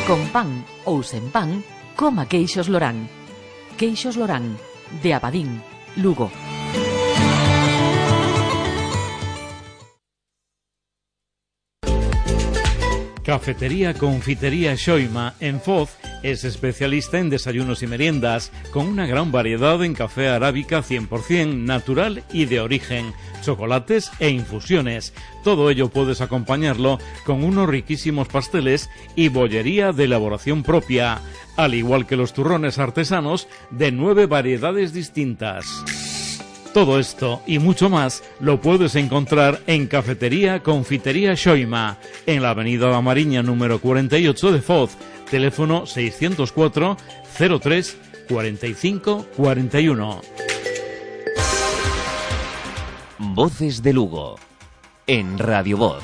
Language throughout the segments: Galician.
Con pan ou sen pan, coma queixos Lorán. Queixos Lorán, de Abadín, Lugo. Cafetería Confitería Xoima en Foz es especialista en desayunos y meriendas, con una gran variedad en café arábica 100% natural y de origen, chocolates e infusiones. Todo ello puedes acompañarlo con unos riquísimos pasteles y bollería de elaboración propia, al igual que los turrones artesanos de 9 variedades distintas. Todo esto y mucho más lo puedes encontrar en Cafetería Confitería Xoima, en la avenida La Mariña número 48 de Foz, teléfono 604 03 45 41. Voces de Lugo, en Radio Voz.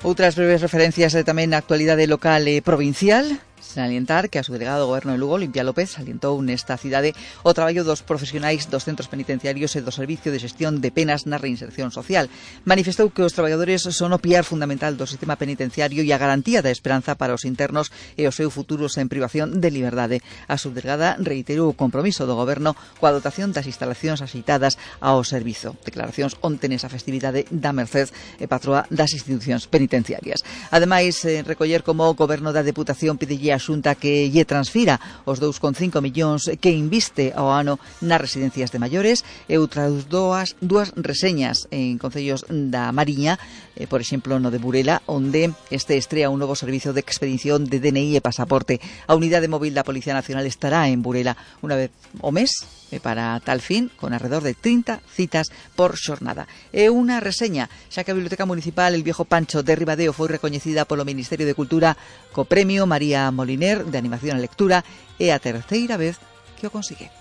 Outras breves referencias tamén na actualidade local e provincial. Salientar que a subdelegado do Goberno de Lugo, Olimpia López, salientou nesta cidade o traballo dos profesionais dos centros penitenciarios e do Servicio de Xestión de Penas na Reinserción Social. Manifestou que os traballadores son o piar fundamental do sistema penitenciario e a garantía da esperanza para os internos e o seu futuro sen privación de liberdade. A subdelegada reiterou o compromiso do Goberno coa dotación das instalacións axeitadas ao servizo. Declaracións onte nesa festividade da Merced e patroa das institucións penitenciarias. Ademais, recoller como o Goberno da Deputación pidelle a Xunta que lle transfira os 2,5 millóns que inviste ao ano nas residencias de maiores e outras dúas reseñas en concellos da Mariña, por exemplo no de Burela, onde este estrea un novo servizo de expedición de DNI e pasaporte. A unidade móvil da Policía Nacional estará en Burela unha vez ao mes para tal fin, con alrededor de 30 citas por xornada. E unha reseña, xa que a Biblioteca Municipal El Viejo Pancho de Ribadeo foi recoñecida polo Ministerio de Cultura co Premio María Moliner de Animación e Lectura, é a terceira vez que o consigue.